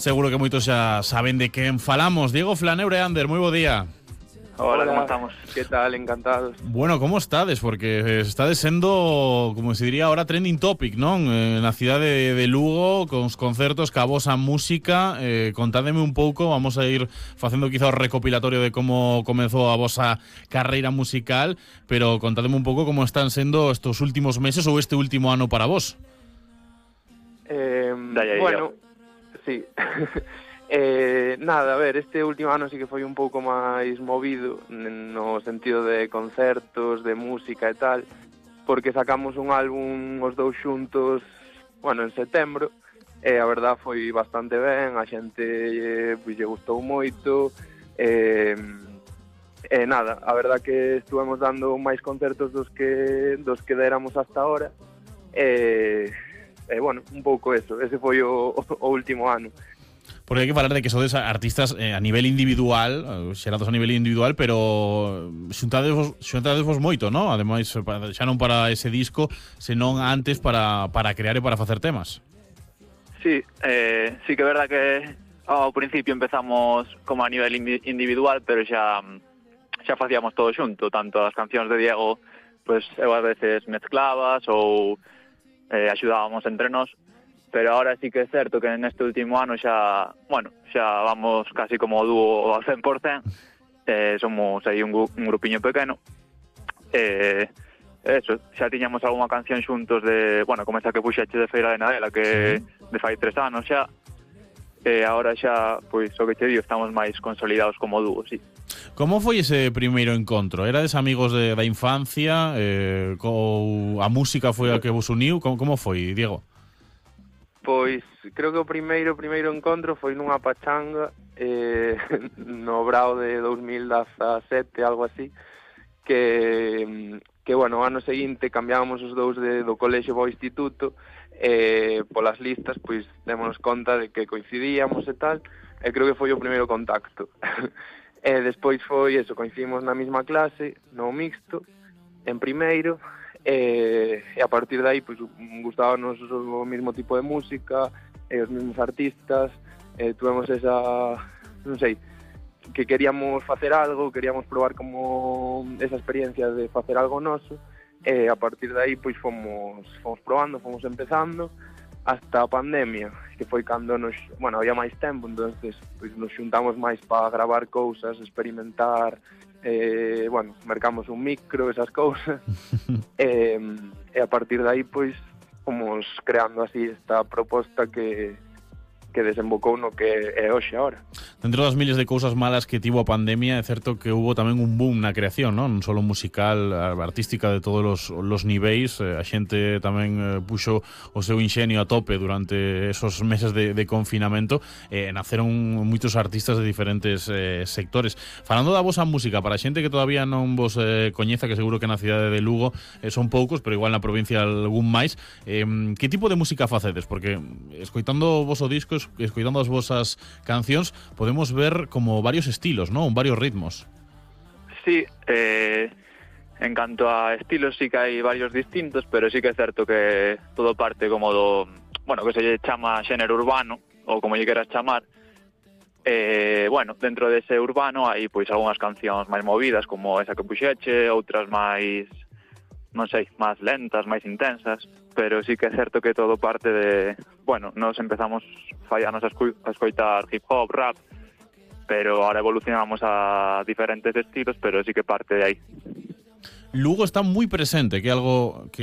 Seguro que moitos xa saben de quen falamos. Diego Flaneure, Ander, moi bo día. Hola, ¿cómo estamos? ¿Qué tal? Encantados. Bueno, como estades? Porque estades sendo, como se diría ahora, trending topic, non? Na cidade de Lugo, con os concertos, ca vosa música. Contádeme un pouco, vamos a ir facendo quizá o recopilatorio de como comezou a vosa carreira musical, pero contádeme un pouco como están sendo estos últimos meses ou este último ano para vos. Bueno, sí. Nada, a ver, este último ano sí que foi un pouco máis movido no sentido de concertos, de música e tal, porque sacamos un álbum os dous xuntos, bueno, en setembro, e a verdad foi bastante ben, a xente pois lle gustou moito, nada, a verdad que estuvemos dando máis concertos dos que deramos hasta ahora, bueno, un pouco eso, ese foi o último ano. Porque hai que falar de que sodes artistas a nivel individual, xerados a nivel individual, pero xuntadesvos moito, non? Ademais, xa non para ese disco, senón antes para crear e para facer temas. Sí, sí que é verdad que ao principio empezamos como a nivel individual, pero xa facíamos todo xunto, tanto as cancións de Diego, pues eu a veces mezclavas ou axudábamos entre nós. Pero ahora sí que é certo que neste último ano xa vamos casi como dúo ao 100%, somos aí un grupiño pequeno, eso, xa tiñamos algunha canción xuntos de, bueno, como esa que puxeche de Feira de Nadela, que de fai 3 anos xa, ahora xa, pois, o que te digo, estamos máis consolidados como dúo, sí. Como foi ese primeiro encontro? Erades amigos da infancia? Ou a música foi a que vos uniu? Como foi, Diego? Pois, creo que o primeiro encontro foi nunha pachanga no Brao de 2017, algo así, que bueno, o ano seguinte cambiábamos os dous do colexio ao instituto, polas listas, pois démonos conta de que coincidíamos e tal, e creo que foi o primeiro contacto. Despois foi eso, coincidimos na mesma clase, no mixto, en primeiro, e a partir de aí pues, gustábamos o mesmo tipo de música, os mesmos artistas, tuvemos esa, non sei, que queríamos facer algo, queríamos probar como esa experiencia de facer algo noso, e a partir de aí pues, fomos probando, fomos empezando hasta a pandemia, que foi cando había máis tempo, entonces pues, nos xuntamos máis para gravar cousas, experimentar, mercamos un micro, esas cousas, e a partir de aí, pois, fomos creando así esta proposta que desembocou no que é hoxe agora. Dentro das miles de cousas malas que tivo a pandemia, é certo que hubo tamén un boom na creación, non só musical, artística de todos os niveis. A xente tamén puxo o seu inxenio a tope durante esos meses de confinamento. Naceron moitos artistas de diferentes sectores. Falando da vosa música, para a xente que todavía non vos coñeza, que seguro que na cidade de Lugo son poucos, pero igual na provincia algún máis, que tipo de música facedes? Porque escoitando o voso disco, escoitando as vosas cancións, podemos ver como varios estilos, ¿no? Varios ritmos. Sí, en canto a estilos sí que hai varios distintos, pero sí que é certo que todo parte como do, bueno, que se lle chama xénero urbano, ou como lle queras chamar. Dentro dese urbano hai pois algunhas cancións máis movidas, como esa que puxeche, outras máis, non sei, máis lentas, máis intensas, pero sí que é certo que todo parte de, nos empezamos fallanos a escoitar hip hop, rap, pero ahora evolucionamos a diferentes estilos, pero sí que parte de aí. Lugo está moi presente, que é algo que